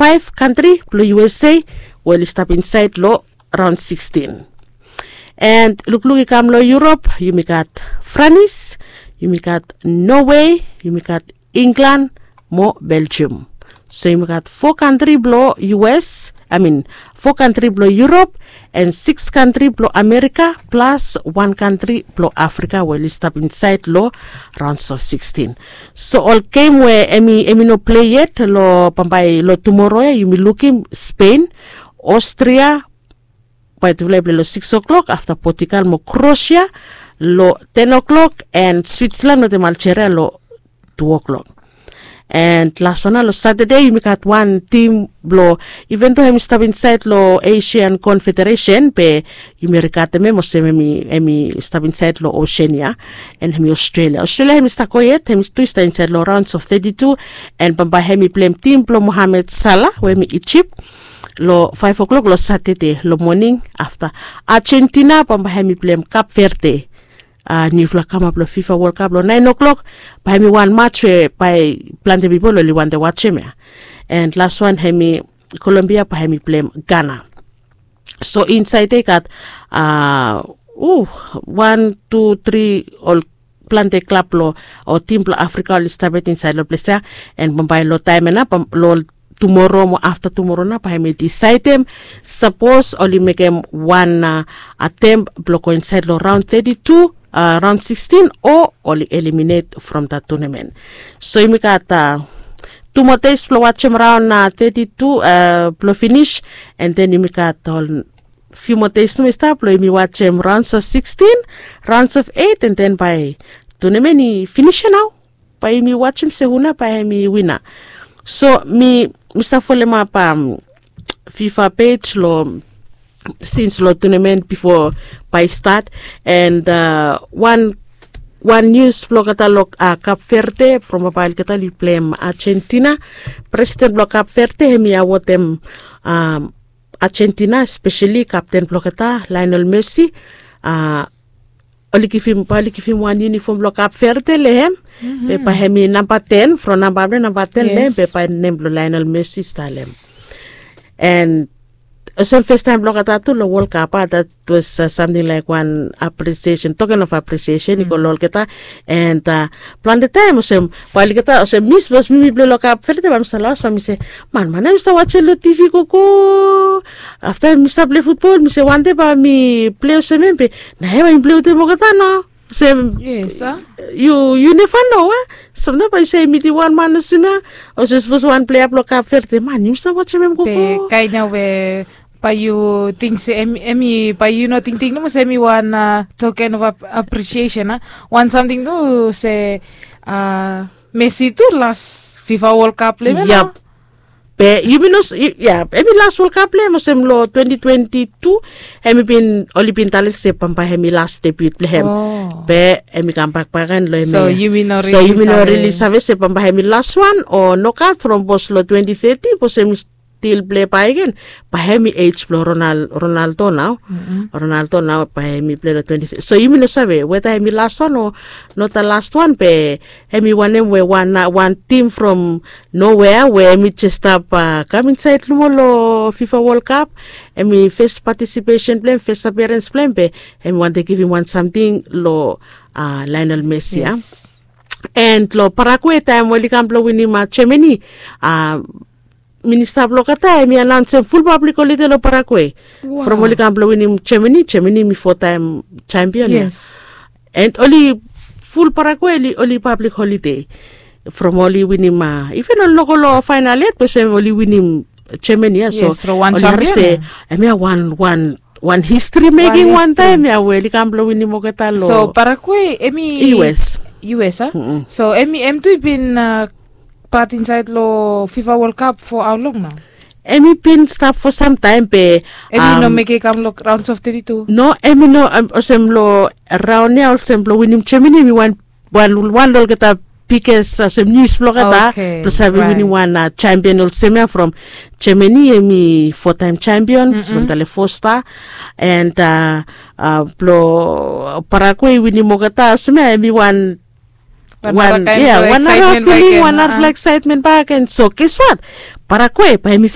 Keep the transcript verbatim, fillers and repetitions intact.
faef kantri blong usa we oli stap insaed long raon sikstin. And lukluk i kam long yurop, yumi gat franis, yumi gat nowe, yumi gat inglan, mo belgium. So yumi gat fo kantri blong us, i min, fo kantri blong yurop, and siks kantri blong amerika plas wan kantri blong afrika we oli stap insaed long raons of sikstin. So ol gem we em i no plei yet long bambae long tumoro ya, yumi lukim spen, austria, bae tufala i plei long siks o'klok, afta portugal mo krosia long ten o'klok, and switsland wetem aljeria long tu o'klok. And las wan ya long satade yumi gat wan tim blong, iven do hem i stap insaed long asian konfederesen be yumi rigatem hem olsem hem i stap insaed long osen ya. And hem i australia australia hem i stap go yet, hem i tu i stap insaed long raons of teti tu. And bambae hem i pleim tim blong mohamed sala we hem i ijip long faef o'klok long satade long moning. Afta argentina bambae hem i pleim kap verde, niufala kamap long fifa wol kap long naen o'klok. Bae hem i wan mats we bae plante pipol oli wantem wajem ya. And las wan hem i kolombia bae hem i pleim gana. So insaed ya i gat wan tu tri ol plante klab blong o tim blong afrika oli stap yet insaed long ples ya. And bambae long taem ya nao long tumoro mo afta tumoro nao bae hem i disaedem sapos oli mekem wan atem blong go insaed long raon teti tu, raon sikstin, o oli eliminet from dat tunamen. So yumi gat tu moa des blong wajem raon teti tu blong finis. And den yumi gat ol fiu moa des nomo i stap blong yumi wajem raons of sikstin, raons of eit, and den bae tunamen i finis ya nao. Bae yumi wajem se hu nao bae hem i wina. So mi mi stap folemap fifa pej long sins long tunamen bifo bae i stat. And wan wan nius blong olgeta long kap verde from babae olgeta oli pleim argentina. Presiden blong kap verde hem i awodem argentina espeseli kapten blong olgeta laenol mesi. Oli givim bae oli givim wan yunifom blong kap verde long hem. Be bae hem i namba ten from namba blong namba ten long hem be bae nem blong laenol mesi i stap long hem. And olsem festaem blong olgeta tu long wol kap a dat was samting laek wan apresiesen token of apresiesen i go long olgeta. And plante taem olsem bae olgeta olsem mi sapos mi mi plei long kap verde bae mi stap laos bae mi se, man man ya mi stap wajem long tivi gogo. Afta mi stap plei futbol mi se wande bae mi plei olsem em be nae bae mi plei wetem olgeta nao. Olsem yu yu neva no a. Samtaem bae yu save mitim wan man olsem ya, olsem sapos wan plea blong kap verde man yu stap wajem em gogo. Kaen ya we bae yu ting se em i bae yu no tingting nomo se em i wan token of apresiesen a wan samting tu se mesi tu las fifa wol kap long em ya. Be yumi no ya em i las wol kap long em olsem long twenti twenti tu. Em i bin oli bin talem se bambae em i las debut blong em. Be em i kambak bak gen long em ya. So yumi no rili save se bambae em i las wan o nogat from bos long twenti teti bos em i stil plei bakegen. Bae em i ej blong ronaldo nao. Ronaldo nao bae em i plei long twenti teti so yumi no save weta em i las wan o nota las wan be em i wanem we wan tim from nowea we em i jes stap kam insaed nomo long fifa wol kap. Em i fes patisipesen blong em fes apiarens blong em be em i wantem givim wan samting long laenel mesi ya. And long parague taem oli kam blong winim germany, minista blong olgeta em i anaonsem ful pablik holide long parague. From oli kam blong winim germany germany em i fotaem champion ya. And oli ful parague oli pablik holide from oli winim iven oli no go long faenal yet bese oli winim germany ya so oli harim se em ya wan wan wan histri meking wantaem ya we oli kam blong winim olgeta long so parague em i us. Us a so em i em tu i bin pat insaed long fifa wol kap fo haolong nao? Em i bin stap fo samtaem be em i no mekem i kam long raons of teti tu. No em i no olsem long raon ya olsem blong winim germany em i wan wan long olgeta biges olsem nius blong olgeta blong save winim wan champion olsem ya from germany em i fotaem champion olsem tale fosta. And blong parague i winim olgeta olsem ya em i wan wan ya wan nara filing wan narafala eksaetmen bak and so ges wat parague bae em i